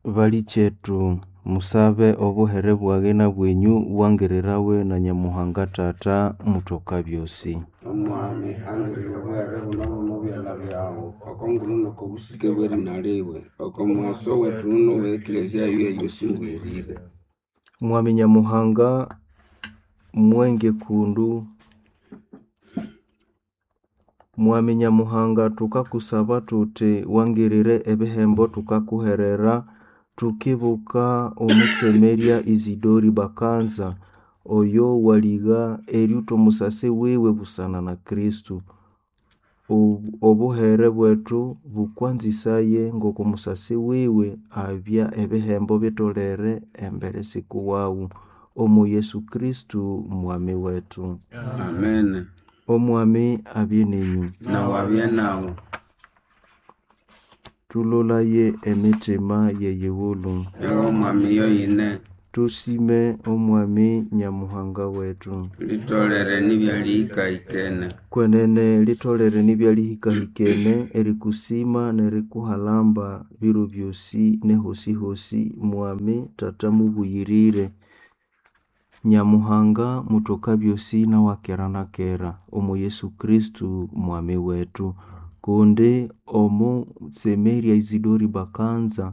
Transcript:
Balikyetu, musabe obuhere bwage na bwenyu bwangirirawe na Nyamuhanga Tata mutoka byosi. Omwami angirire obuhere buno bw'omo byalha byawu oko ngulu n'oko busike bw'erina liwe, oko mughaso wethu n'owe Eklezia yiwe eyosi ngwerire. Mwami Nyamuhanga mwenge kundu Mwami Nyamuhanga tukakusaba tuti wangirire ebihembo tukakuherera tukibuka omutsemerya Isidori Bakanza oyo waligha eriutha omusasi wiwe busana na Kristo. Obuhere bwethu bukwanzisaye ng'oko musasi wiwe abya ebihembo bitolere embere sikuwawu omo Yesu Kristo mwami wethu. Amen. Omwami abye nenyu. Nawu abye nawu. Tulolaye emitima yeyighulu. Ewa Omwami yoyine. Tusime Omwami Nyamuhanga wethu. Litolere nibyalihikahikene. Kwenene litolere nibyalihikahikene erikusima n'erikuhalamba biro byosi nehosi-hosi Mwami Tata mubuyirire. Nyamuhanga mutoka byosi nawakera na kera omo Yesu Kristo mwami wethu kundi omutsemerya Isidori Bakanza.